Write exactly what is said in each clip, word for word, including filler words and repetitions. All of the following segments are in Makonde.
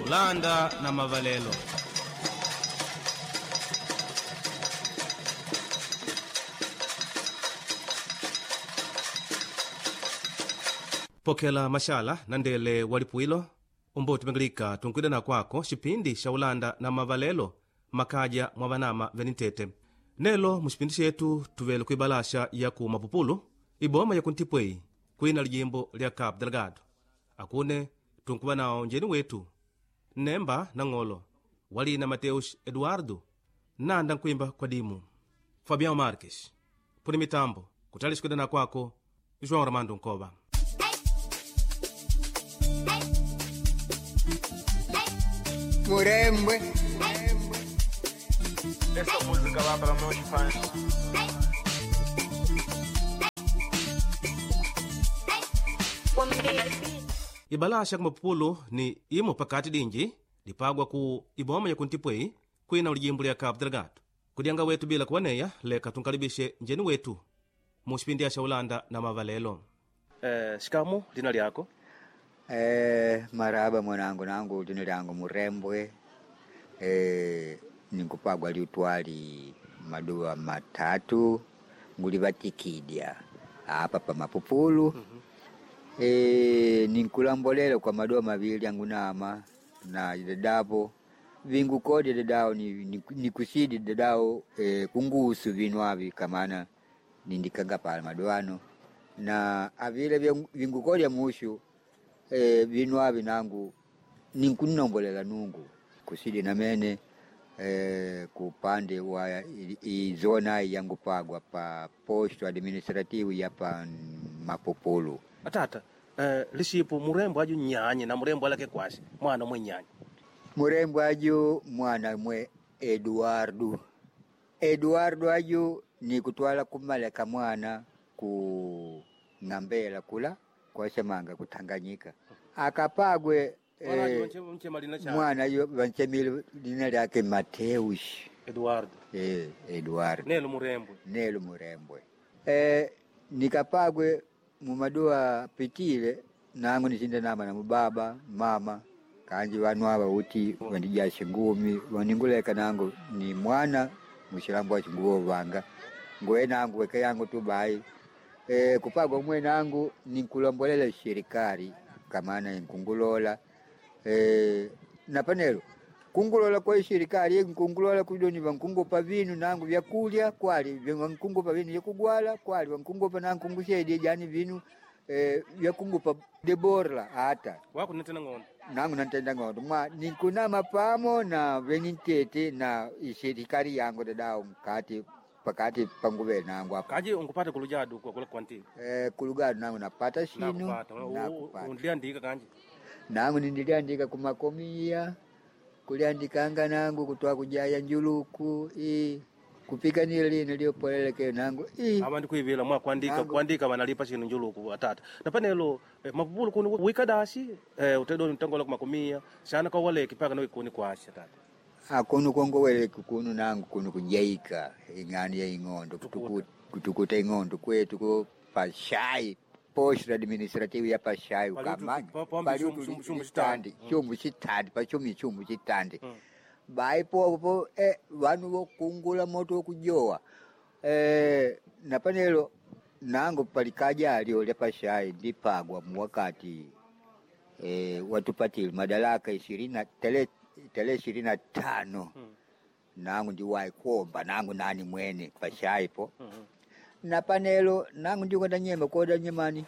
Ulanda na mavalelo. Pokela mashala na ndele walipuilo umboti pengelika tunkwida na kwako xipindi xa Ulanda na mavalelo makaja mwa vanama venitete. Nelo muxipindi xetu tuvele kuibalasha ya ku Mapupulu iboma ya kuntipwei kwina lijimbo lya Cabo Delgado. Akune tunkuva nawo njeni wetu Nemba na Ng'olo walina Mateus Eduardo nanda nkwimba kwa dimu Fabião Marques puni mitambo kutali xikuida na kwako João Ramando Nkova. Murembwe. Essa música lá para meus fãs. Ibalasha kumapupulu ni imo pakati dinji lipagwa ku iboma ya kuntipwei kwina ulijimbo lya Cabo Delgado. Kudyanga wetu bila kuwaneya leka tunkalibishe njeni wetu mu xipindi xa Ulanda na mavalelo. Eh, shikamu lina lyako? Eh, maraba mwanangu, nangu lina lyangu Murembwe. Eh, ninkupagwa liutwali maduwa matatu ngulivatikidya apa pa Mapupulu. Mm -hmm. E, ninkulambolela kwa madoa mavili angunama na dadapo vingukodi dadao nikusidi ni, ni dadao e, kungusu vinu avi kamana nindikanga pala madoano na avile vingukodi ya mushu e, vinu avi nangu ninkunombolela nungu kusidi namene e, kupande wa izona yangupagwa pa posto administrativo ya pa Mapupulu. Atata, eh, lixipo murembo aju nyanye na murembo alake kwasi mwana mwe nyanye murembo aju mwana mwe Eduardo. Eduardo aju ni kutwala kumaleka mwana ku ng'ambela kula kwasemanga kutanganyika akapagwe eh, mwana aju vanchemile lina lyake Mateus Eduardo. Eh, Eduardo nelo murembwe nelo murembwe eh, nikapagwe mumadoa pitile nangu nisinda nama na mubaba mama kanji vanu ava uti vandijashe ngumi vaninguleka nangu ni mwana mushilambo wa chinguvo vanga ngoe nangu weke yangu tu bai e, kupagwa mwe nangu ninkulombolela shirikari kamana nkungulola e, na panelo kungulola kwa shirikari nkungulola kudoni vankungupa vinu nangu vyakulya kwali vankungupa vinu vyakugwala kwali vankungupa nangu nkungushedi jani vinu eh, vyakungupa deborla ata wako nitena ng'ondo nangu nantenda ng'ondo mwa ninkunama pamo na venintete na ishirikari yangu dadao mkati pakati panguve nangu apa kaji ungupate kulujadu kwa kula kwanti eh, kulugadu nangu napata shinu nakupata undiliandika kanji nangu nindiliandika kumakomia kuliandikanga nangu kutwa kujaya njuluku i kupiganira lino liopoleleke nangu i ava ndikuivila mwa kuandika kuandika vanalipa xinu njuluku atata na panelo eh, Mapupulu kuni wikadasi eh, utedoni mtangola kumakumia xana kwa waleki paka noikuni kwasha tata akunu kongoweleki kunu nangu kunu kujaika ing'ani ya ing'ondo kutukuta, kutukuta ing'ondo kwetu ko pashai posto administrative ya pashai ukamanya paliutuchitandi chumbu chitandi pachumi chumbu chitandi bai popo eh, vanu vokungula moto wokujowa eh, na panelo nangu palikaja alio lya pashai ndipagwa muwakati eh, watupatile madaraka ishirini na tele tele ishirini na tano mm. nangu ndiwayi kuomba nangu nani mwene pashai po mm -hmm. Na panelo nangu ndiko nyema koda nyemani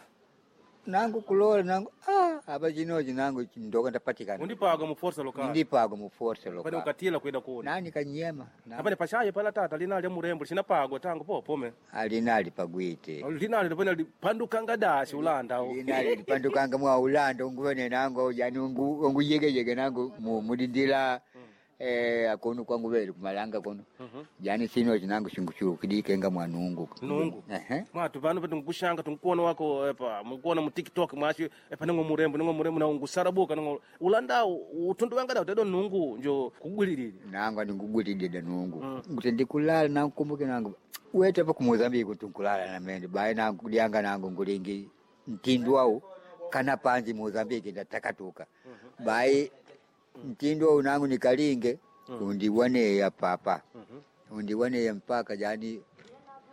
nangu kulola nangu ah apa chinochi nangu ndoka ndapatikana undipaga mu força local ndipaga mu força local pane ukatila kwenda kuona nani kanyema apane pashaye pala tata linali murembo lixinapagwa tangu po pome alinali pagwite linali pone pandukanga dashi ulanda linali lipandukanga mwa ulanda unguvene nangu yani ungu unguyegeyege nangu mudindila mm. Eh, akonu kwangu vele kumalanga kono mm -hmm. Yani sino chinangu chingu kidikenga mwanungu nungu mwatu vanu vetu nkushanga tunkuona wako epa mukuona mu TikTok mwashi epa ningo murembo ningo murembo na ngusarabuka ningo ulanda utundu wanga da tedo nungu njo kugwililile nangu andingugwililile nungu mm. Kuti ndikulala nangu kumbuke nangu wete pa ku Mozambique tunkulala na mende bae nangu kudyanga nangu ngulingi mtindu wau kana panji Mozambique ndatakatuka mm -hmm. Bai Mtindo unangu nikalinge undiwaneya papa undiwaneya mpaka yani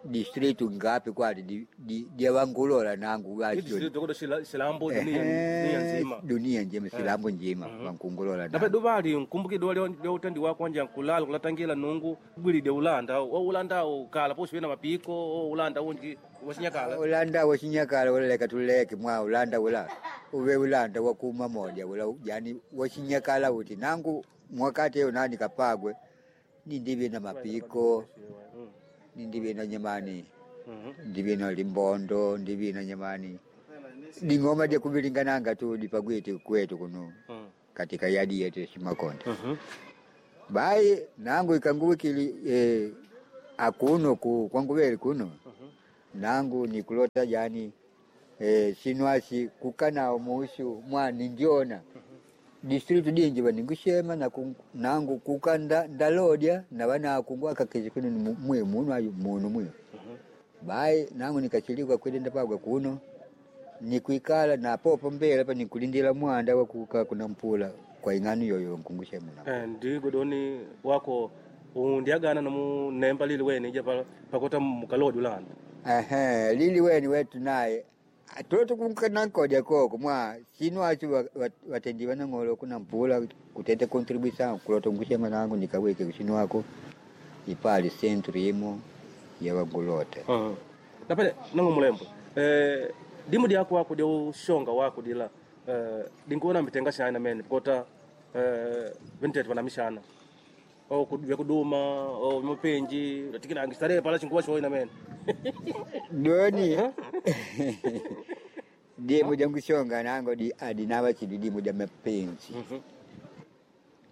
district ngapi kwali di- di- dyawangulola nangu Ni district kodo shila- Shilambo dunia dunia nzima. Dunia njima, Silambo njima wankungulola Nape nangu. duvali nkumbuki duwa lyo lyo utendi wako wanja nkulala kulatangila nungu gwilide ulanda o ulanda ukala posi wina mapiko o ulanda unji wasinyakala. Ulanda wachinyakala ulaleka tuleke mwa ulanda ula uve ulanda wakuma moja ula yani wachinyakala uti nangu mwakati eyo nani kapagwe nindive na mapiko nindive na nyamani ndive na limbondo ndive na nyamani ding'oma dyakuvilingananga tu dipagwiti kwetu kuno katika yadi yetu Shimakonde. Bai nangu ikanguwikili eh, akuno ku kwanguveli kuno nangu nikulota yani eh, sinwasi kukanao muushu mwani ndiona district dinji vaningushema na ku- nangu kuka nda- ndalodya na vana akungwa akakezi kuno ni mu- mwe munu ayu munu mwe bai nangu nikachilikwa kwenda pagwa kuno nikuikala na popo mbele pa nikulindila mwanda wakuka kuna mpula kwa ing'ano yoyo nkungushema na Eh, ndi godoni wako undiagana nomu nemba lili weni ija pa- pakota mukalodi ulanda. Ehe, lili weni wetu naye toto kunkanankodya koko mwa sinu acho watendi vanang'olo kuna mpula kutete contribution kulota ngushema nangu nikawike kusinu wako ipali centro imo yawangulota. Uh-huh. Napene nangu mulembwe eh, dimu dyako wako dya ushonga wako dila eh, dinkuona mitenga shana mene kota eh, vintete vanamishana o vyakuduma o mapenji latikinangi starehe pala chinkuwa shoina mene. Doni dimu dya ngushonga nango di adinava chidi dimu dya mapenzi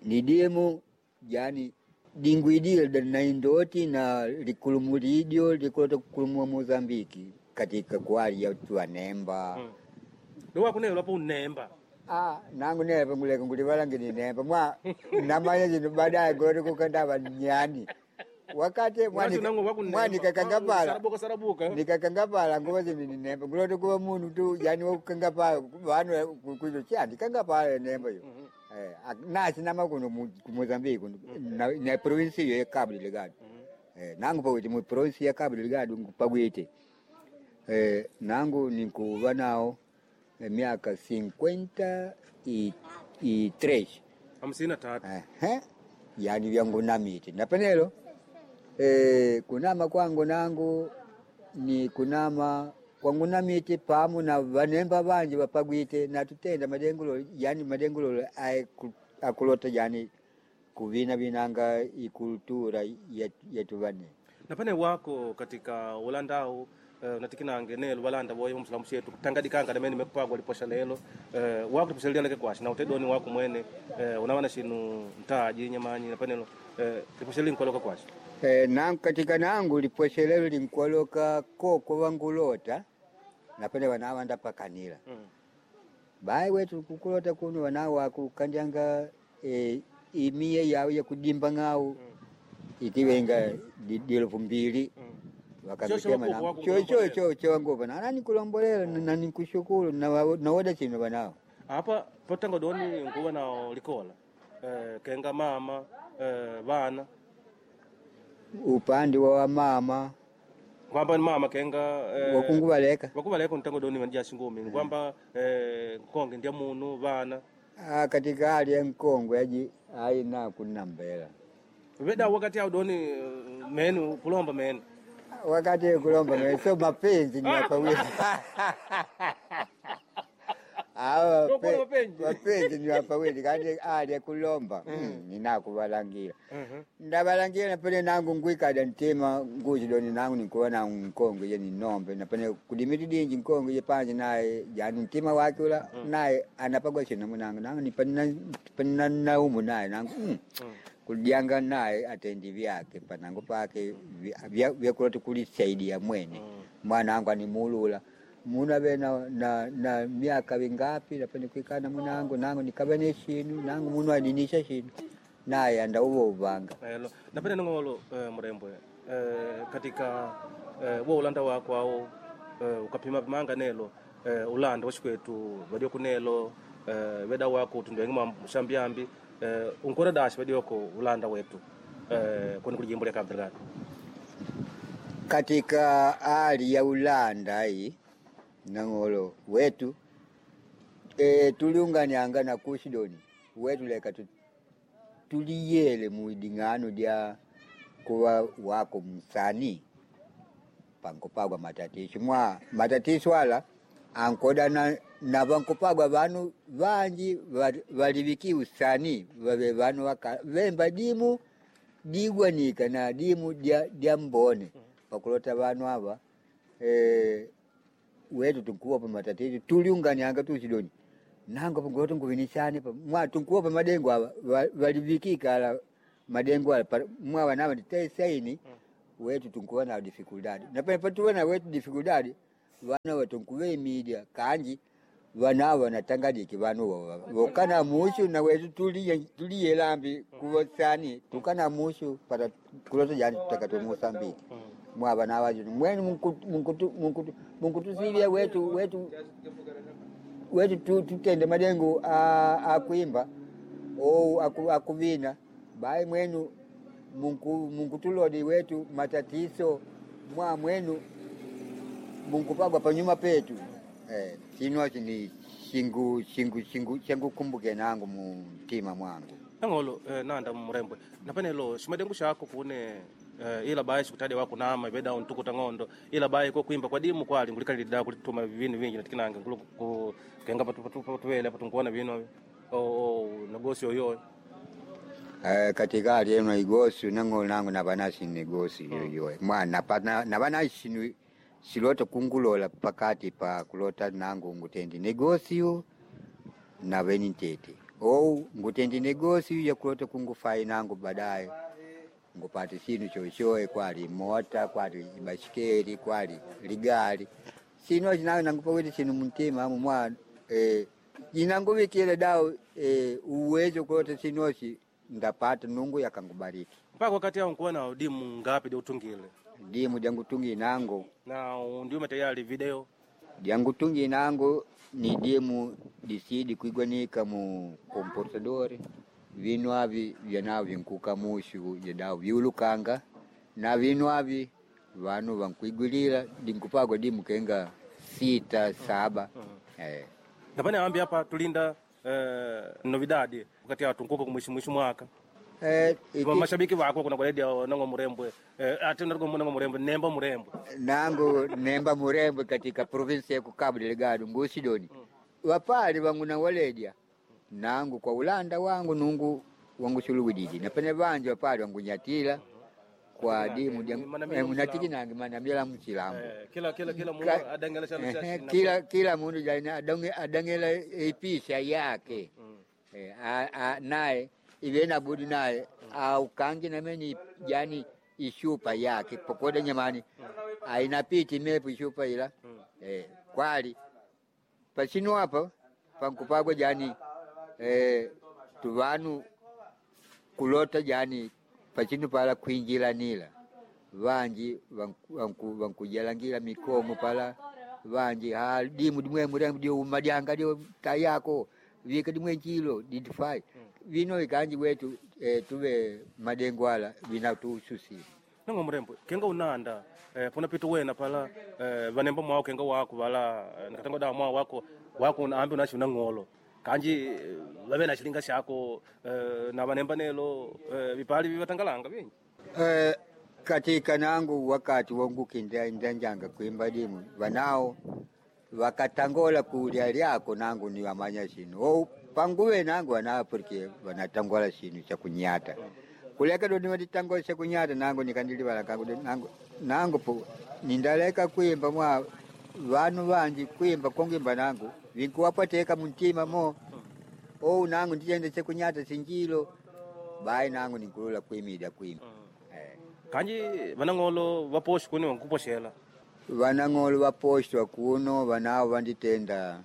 ni dimu yani dingwidile na indoti na likulumu lidyo likulota kukulumua Mozambiki katika kwali ya tuanemba mm. Do wako nelo lapo unemba. Ah, nangu nepa nguleka ngulivalange ni nemba mwa namanya zinu baadaye ngoloti kukandava nyani wakati Wasi nangu wako mwa nikakangapala sarabuka sarabuka nikakangapala nguva zinu ni nemba nguloti kuva munu tu yani wakukangapala vanu kuzo cha ndikangapala nemba yo. Eh, ak- nasi nama kuno mu ku Mozambique kuno na, na provinsi yo ya Cabo Delgado. Eh, nangu pakuti mu provinsi ya Cabo Delgado pakwite eh, nangu nikuva nawo eh, miaka cinquenta e, e três. Hamsini na tatu. Ehe, yani vyangu namite napenelo eh, kunama kwangu nangu ni kunama kwangu namite pamu na vanemba vanji vapagwite natutenda madengulo yani madengulo akulota yani kuvina vinanga ikultura yetu vane. Napene wako katika ulandau eh, natikinange nelo walanda boyo msalamu shetu tangadikanga namene mekupagwa liposha lelo eh, wako liposha lelo kwashi na utedoni wako mwene eh, unawana shinu ntaji nyamanyi napenelo eh, liposha linkoloka kwashi. Eh, nangu katika nangu liposhelelo linkwaloka koko wangulota napene vana ndapakanila Mm. bai wetu kukulota kuno wana wakukandyanga e, imiye yawo yakudimba ng'awu ikiwenga di- dilofu mbili Cho- cho wakupa, wakambitema chowangupa nani kulombolela nanikushukuru nawoda chino vanao. Apa potanga doni nkuwa nao likola eh, kenga mama eh, vana Upande wa wamama kwamba ni mama kenga eh, wakunguvaleka. wakuvaleka ntango doni vandia shingumi kwamba eh, nkonge ndia munu vana. Ah, katika hali ya nkongwe aji aina kunambela. Veda wakati au doni eh, menu kulomba menu. Wakati kulomba mwe, so mapenzi ni wapawili. Awa Ndio kuna pe- mapenzi. mapenzi ni wapawili kandi ali kulomba mm, ninakuvalangira ndavalangira napene nangu ngwikada ntima nguzi doni nangu nikuwa nangu nkongwe ye ninombe napene kudimiti dinji nkongwe ye panje naye yani mtima wake ula naye anapagwa chino munangu nangu nipanina naumu naye nangu mm. Kudyanga naye atendi vyake panangu pake vyakuloti kulisaidia mwene mwana wangu animulula muna ve na, na, na miaka vingapi napene kuikana munangu nangu nikave ne shinu nangu munu adinisha shinu naye anda uvo uvanga. Elo napenda nongolo eh, murembwe eh, katika eh, wo ulanda wako au eh, ukapima pimanga nelo eh, ulanda washikwetu vadio kunelo eh, veda wako tundu wengi mwa mshambiambi. eh, unkora dashi vadioko ulanda wetu eh, kuni kuli jimbo lya Cabo Delgado Katika hali ya Ulanda hii nang'olo wetu e, tuliunganianga na kusidoni wetu leka tu, tuliyele muiding'ano lya kuwa wako msanii pankopagwa matatiso mwa matatiso ala ankoda na, na vankopagwa vanu vanji valiviki usanii vave vanu waka vemba dimu digwanika na dimu dya, dya mbone pakulota vanu ava e, wetu tunkuwa pa matatizo tuliunganianga tusidoni nango pangulota nguvinisane pa mwa tunkuwa pa madengo ava valivikika ala madengo ala mwa vanava nditesaini wetu tunkuwa na dificuldade na pene patuwa na wetu dificuldade vana watunkuve media kanji vana wanatangadiki vanu vokana mushu na wetu tuliye tuliye lambi kuvosani tukana mushu para kulota jani tutakato Mosambiki mwa vana vacho mwenu munkutu munkutu munkutusivya wetu wetu wetu tu, tutende madengo akuimba ou aku, akuvina bai mwenu munku munkutulodi wetu matatizo mwa mwenu munkupagwa panyuma petu eh, chino ni chingu chingu chingu changukumbuke nangu mumtima mwangu nang'olo eh, nanda murembwe napanelo ximadengu xako kune eh, ila bayi xikutade wako nama iveda ntukuta ng'ondo ila bayi ko kuimba kwa dimu kwali ngulikalilida kulituma vinu vingi natikinange ngulu ku kenga patu patu patuwele patunkuona vinu o o nagosi oyo Eh, katika hali eno igosi nang'olo nangu navanasi nigosi yoyoyo mwa napana navanasi ni silota kungulola pakati pa kulota nangu ngutendi negosio naveni ntete ou ngutendi negosio yakulota kungufai nangu baadaye ngupate sinu chochoe kwali mota kwali ibasikeli kwali ligali sino chinawe nangupawete sinu mtima amu mwa eh, inanguvikile dawo eh, uwezo kulota sinosi ndapata nungu yakangubariki mpaka wakati awo nkuwa na dimu ngapi diutungile dimu jangutungi nangu na undiume tayari video jangutungi nangu ni dimu disidi kuigwanika mu computador vinu avi vyanao vinkuka mushu yadao viulukanga na vinu avi vanu vankuigwilila dinkupagwa dimu kenga sita saba mm -hmm. eh. napane ambi apa tulinda eh, novidade wakati awo tunkuka kumwishi mwishi mwaka Eh, iki, mashabiki vako kuna kwaledia nango murembwe eh, ati nango nango murembwe nemba murembwe nangu nemba murembwe katika provinsi ya Cabo Delgado ngusidoni mm. wapali wangu na waledia nangu kwa ulanda wangu nungu wangu suluwididi napene vanje wapali wangu nyatila kwa dimu munatiki nange manamila mchilambo eh, kila kila kila mundu adangela chalo Ehe, kila kila mundu jaina adonge adangela ipisha yake mm. eh, a, a, naye ive nabudi naye aukangi nameni yani ishupa yake pokoda nyamani ainapiti mepu ishupa ila mm. eh, kwali pasinu apa pankupagwa jani eh, tuvanu kulota jani pachinu pala kwinjilanila vanji vankujalangila mikomo pala vanji ha dimu dimwe murembo dio umadyanga dio tayako vika dimwe nchilo didifai vino ikanji wetu eh, tuve madengo ala vinatususi nango murembwe kenga unanda eh, puna pitu wena pala eh, vanemba mwao kenga wako vala eh, nakatango dawa mwao wako wako ambi unachi unang'olo kanji eh, vave na chilinga shako eh, na vanemba nelo eh, vipali vivatangalanga vingi eh, katika nangu wakati wangu kindanjanga kuimba dimu vanao vakatangola kulya lyako nangu ni wamanya shinu ou panguve nangu wanao porque wanatangola shinu cha kunyata kuleka doni watitangola cha kunyata nangu nikandilivala kangu nangu nangu po nindaleka kuimba mwa vanu vanji kuimba kongimba nangu vinkuwapateka muntima mo ou nangu ndichende chekunyata sinjilo bai nangu ninkulula kuimida kuimba eh. kanji vanang'olo vaposhi kuni vankuposhela vanang'olo vaposhwa kuno vanao vanditenda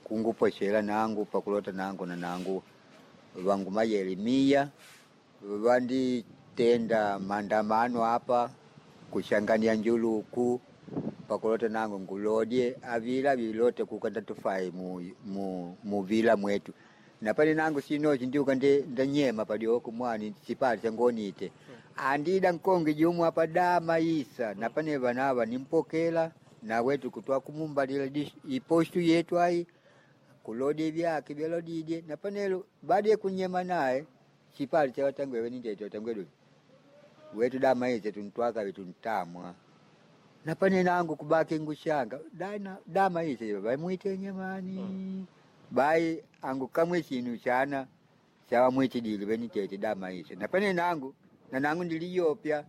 kunguposhela nangu pakulota nangu na nangu vangu mayelimiya vanditenda maandamano apa kushangania njuluku pakulota nangu ngulodye avila vilote kukanda tufai mu, mu, muvila mwetu Napane nangu sinochi ndiuka ndi ndanyema padioko mwani chipali changonite. Andida nkonge jumwe apa dama isa napane vanava nimpokela na wetu kutwa kumumbalila dish- ipostu yetu ai kulodi vyake vyalodidye napanelo baada ya kunyema naye chipali cha watangwewe nindete watangwedu wetu dama ise tuntwaka vituntamwa napane nangu kubaki ngushanga dana dama ise baimwite nyamani bai angu kamwe chinu chana chawamwitidile venitete dama ise napane nangu na nangu ndiliyopya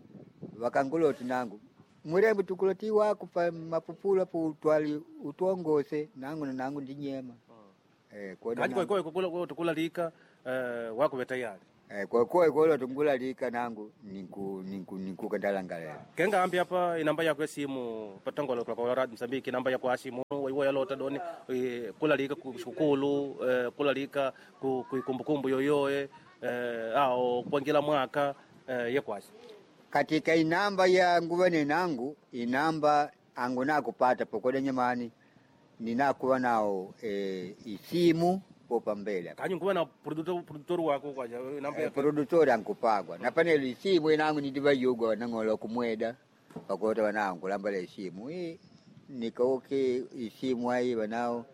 wakanguloti nangu murembo tukuloti wako pa mapupulu apo utwali utwongose nangu na nangu ndinyema eh koda Kaji nangu- kwa kwa tukulalika eh, wako vetayari eh kwa kwa kolo tungulalika nangu ninku ninku ninku kandalangalela kenga ambi apa inamba yako esimu patangola kwa kwa radio Msambiki namba yako asimu iwo yalota doni eh, kulalika ku shukulu eh, kulalika ku ku kumbukumbu yoyoe eh, ao kuangila mwaka eh, yekwasi katika inamba ya nguvane nangu inamba angu nakupata pokoda nyamani ninakuwa nao eh, isimu popa mbele kanyi nguva na produtor produtor wako kwaja namba eh, yako produtori ankupagwa napanelo isimu inangu nidivayugwa nang'ola kumweda pakota wanangu lambala isimu i nikauke isimu ayi wanao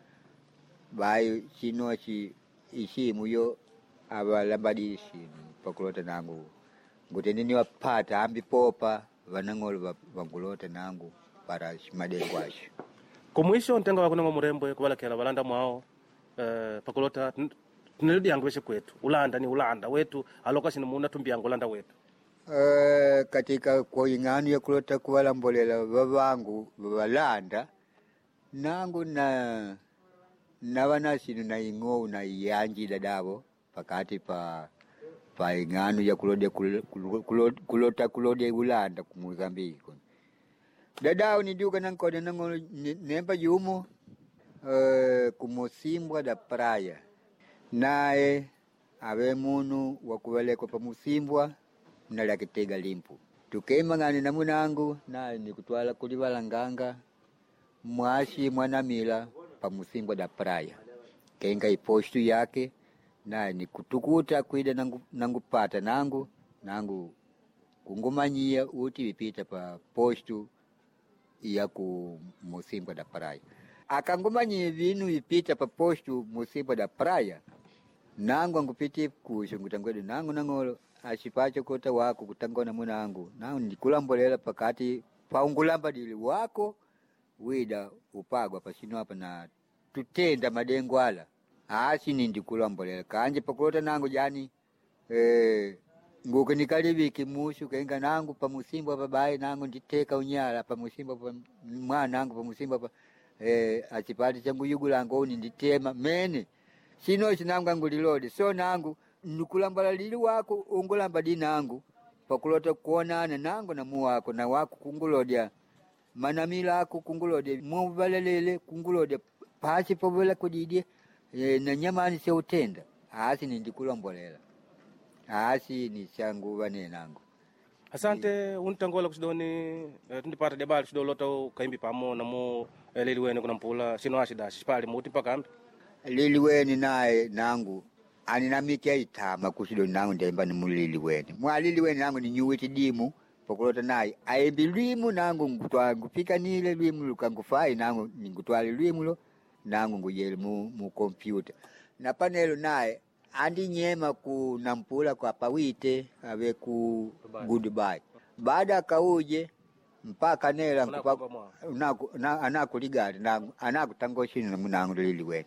bayi chinochi isimu yo avalambadi isimu pakulota nangu nguti niniwapata ambi popa vanang'olo va- vangulota nangu para shimadengo asho kumwisho ntenga wako nango murembwe kuvalakela valanda mwao eh, pakulota tineludi yangu veshe kwetu ulanda ni ulanda wetu aloka shini muna tumbi yangu ulanda wetu Eh, katika kwa ing'ano ya kulota kuvalambolela vavangu valanda nangu na nava sinu na ing'ou na iyanjila davo pakati pa pa ing'ano ya kulodya kulo- kulo- kulota kulodya ulanda ku Mozambiki kuno dadao nidiuka nankoda nang'olo ni- nemba jumo eh, kumusimbwa da praia naye ave munu wakuvelekwa pamusimbwa nalakitega limpu tukemang'ane na munangu naye nikutwala kulivalanganga mwashi mwanamila pamusimbwa da praia kenga ipostu yake naye nikutukuta kwida nangu, nangupata nangu nangu kungumanyia uti vipita pa postu ya ku musimbwa da praia akangumanyia vinu vipita pa postu musimbwa da praia nangu angupiti kusho ngutangwedu nangu nang'olo achipacho kota wako kutangona munangu nangu ndikulambolela pakati paungulamba dili wako wida upagwa pasino apa na tutenda madengo ala asi nindikulambolela kanje pakulota nangu jani eh, nguku nikaliviki mushu kenga nangu pamusimbo apa bayi nangu nditeka unyala pamusimbo pa mwanangu pamusimbo apa eh, achipati changu yugulangu uni nditema mene chino chinangu angulilodi so nangu nikulambala lili wako ungulamba di nangu pakulota kuonana nangu na muwako na wako kungulodya manamila ako kungulodya muvalelele kungulodya pasi povela kudidye e, na nyamani seutenda asi nindikulombolela asi ni changuva nenangu asante untangola kusidoni eh, tundipata debali sidolota kaimbi pamo namo eh, lili wene kuna mpula sino ashidashi shipali muti mpaka ambi lili weni naye nangu aninamike itama kusidoni nangu ndemba ni mulili weni mwalili weni nangu ninyuwiti dimu pokulota naye aembi lwimu nangu ngutwa ngupikanile lwimu lukangufai nangu ningutwale lwimulo nangu nguyele mu, mu kompyuta na panelo naye andinyema ku nampula kwa pawite ave ku goodbye baada akauje mpaka nela nkupa- Unakupa mwa. unaku- na- anakuligati nangu anakutangoshini namunangu lili weni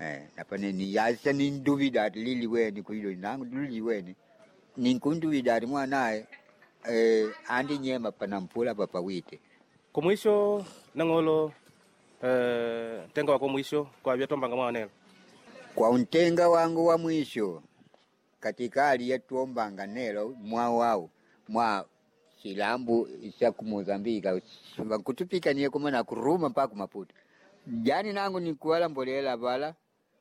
Eh, napane ni yasa ninduvida ati lili weni kuilo nangu lili weni ninkunduvida ati mwanaye eh, andinyema panampula papawite kumwisho nang'olo eh, ntenga wako mwisho kwa vyatombanga mwanelo kwa untenga wangu wa mwisho katika hali yatuombanga nelo mwa wao mwa chilambu cha ku Mozambika kutupikanie kuma na kuruma mpaka kumaputo jani nangu nikuwalambolela vala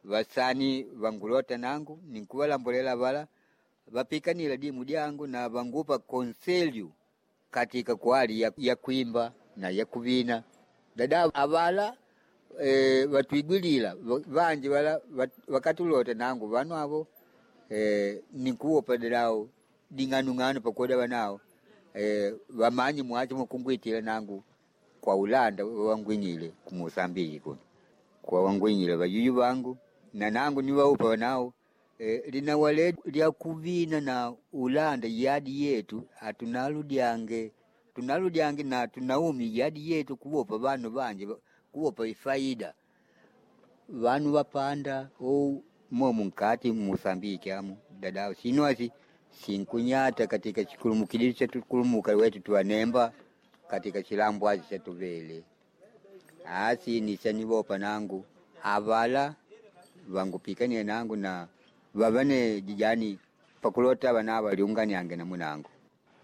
vasani vangulota nangu nikuwalambolela vala vapikanila dimu dyangu na vangupa konselyu katika kwali ya, ya kuimba na ya kuvina dada avala e, vatwigwilila vanji vala vakatulota nangu vanu avo e, nikuwopa dadao ding'anung'anu pakoda vanao e, vamanyi mwachi mukungwitila nangu kwa Ulanda wangwinyile ku Mosambiki kuno kwa wangwinyile vayuyu vangu na nangu niwaupa vanao e, linawale lya kuvina na Ulanda yadi yetu atunaludyange tunaludyange na tunaumi yadi yetu kuwopa vanu vanje kuwopa ifaida vanu vapanda ou momu nkati Mosambiki amu dadao sinwasi sinkunyata katika chikulumukidili chetukulumuka wetu tuwanemba katika chilambwazi chatuvele asi nisanivopa nangu avala vangupikanie nangu na vavane jijani pakulota vana valiunganiange na munangu.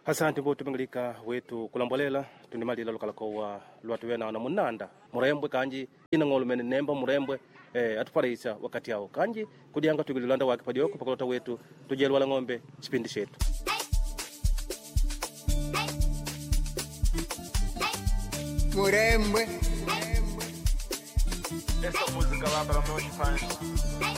Asante mbutu pingilika wetu kulambolela tunimalila lukalakowa lwatuwe na munanda murembwe kanji inang'olo mene nemba murembwe eh, atupalaisa wakati awo kanji kudyanga tuigililanda wake padioko pakulota wetu tujelwala ng'ombe chipindi chetu. Murembwe. Essa música lá para meus fãs.